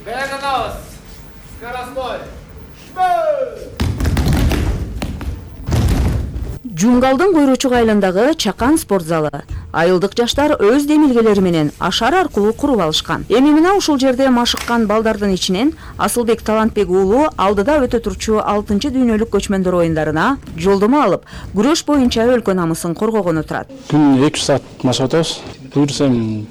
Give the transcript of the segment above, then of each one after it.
Даярданабыз. Скоростой. Жунгалдын Койрочук айылындагы Чакан спорт залы. Айылдык жаштар өз демилгелери менен ашар аркылуу куруп алышкан. Эми мына ушул жерде машыккан балдардын ичинен Асылбек Талантбек уулу алдыда өтө турчу 6-дүйнөлүк көчмөндөр оюндарына жолдомо алып, күрөш боюнча өлкө намысын коргогону турат. Күн 2 саат машык атабыз. Буюрсам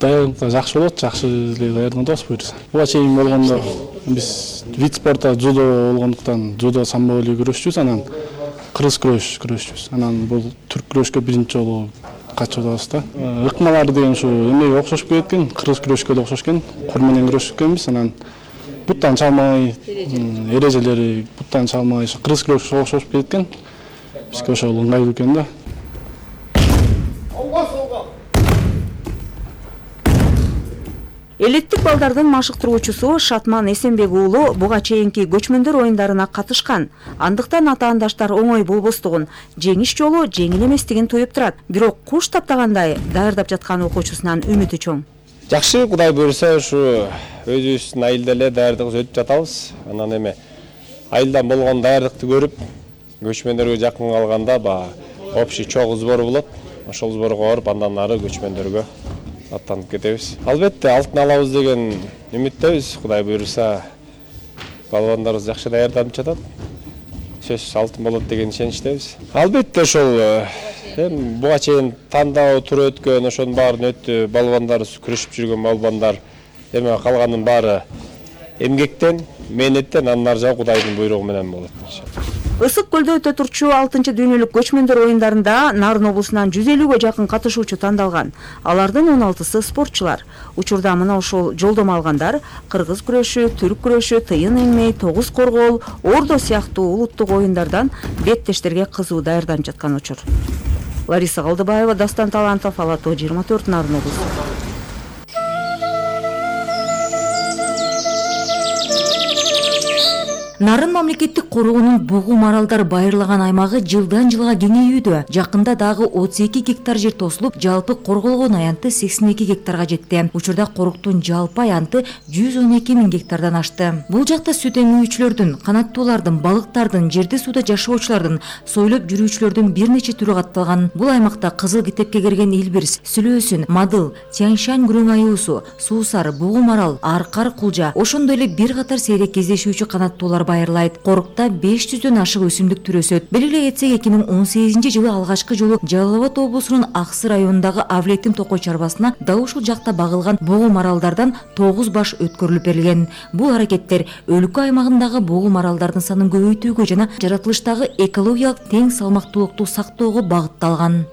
даярдык жакшы болот, жакшы эле даярданабыз буюрса. Буга чейин болгондо биз вид спорта дзюдо болгондуктан дзюдо самбо эле күрөшчүбүз, анан кыргыз күрөшчүбүз. Анан бул түрк күрөшкө биринчи жолу катышып атабыз да. Ыкмалар деген ушу эмеге окшошуп кеткен, кыргыз күрөшкө да окшош экен. Кор менен күрөшкөнбүз. Анан буттан чалмай, эрежелери буттан чалмай, кыргыз күрөшкө окшошуп кеткен. Бизге ошол ыңгайлуу экен да. Элиттик балдардын машыктыруучусу Шатман Эсенбек уулу буга чейинки көчмөндөр оюндарына катышкан. Андыктан атаандаштар оңой болбостугун, жеңиш жолу жеңил эместигин туюп турат. Бирок куш таптагандай даярдап жаткан окуучусунан үмүтү чоң. Жакшы, Кудай буйрса, ушу өзүбүздүн айылда эле даярдык өтүп жатабыз. Анан эми айылдан болгон даярдыкты көрүп, көчмөндөргө жакын калганда общий чогуу сбор болот. Ошол сборго барып, андан ары көчмөндөргө аттанып кетебиз. Албетте алтын алабыз деген үмүттөбүз. Кудай буйрса, балбандарыбыз жакшы даярданып жатат. Сөзсүз алтын болот деген ишеничтебиз. Албетте ошол буга чейин тандоо туруп өткөн, ошонун баарын өттү. Балбандарыбыз күрөшүп жүргөн балбандар эми калганын баары эмгектен, мээнеттен, андан ары жагы Кудайдын буйругу менен болот. Ысык көлдө өтө турчу 6-дүйнөлүк көчмөндөр оюндарында Нарын облусунан 150гө жакын катышуучу тандалган. Алардын 16сы спортчулар. Учурда мына ушул жолдомо алгандар кыргыз күрөшү, түрк күрөшү, тыйын эңмей, тогуз коргоол, ордо сыяктуу улуттук оюндардан беттештерге кызуу даярданып жаткан учур. Лариса Калдыбаева, Дастан Талантов, Алато 24, Нарын облусу. Нарын мамлекеттик коргоонун бугу маралдар байырлаган аймагы жылдан жылга кеңейүүдө. Жакында дагы 32 гектар жер тосулуп, жалпы корголгон аянты 82 гектарга жетти. Учурда коруктун жалпы аянты 112 000 гектардан ашты. Бул жакта сүт эмүүчүлөрдүн, канаттуулардын, балыктардын, жерде сууда жашоочулардын, сойлоп жүрүүчүлөрдүн бир нече түрү катталган. Бул аймакта кызыл китепке кирген илбирс, сүлөөсүн, мадыл, Тяньшань күрөң аюусу, суусар, бугу марал, аркар кулжа, ошондой эле бир катар сейрек кездешүүчү канаттуулар байырлайт. Корукта 500дөн ашык өсүмдүк түрү өсөт. Белгилей кетсек, 2018-жылы алгачкы жолу Жалал Абад облусунун Аксы районундагы Авлеттин Токой чарбасына дал ушул жакта багылган бугу маралдардан 9 баш өткөрүлүп берилген. Бул аракеттер өлкө аймагындагы бугу маралдардын санын көбөйтүүгө жана жаратылыштагы экологиялык тең салмактуулукту сактоого багытталган.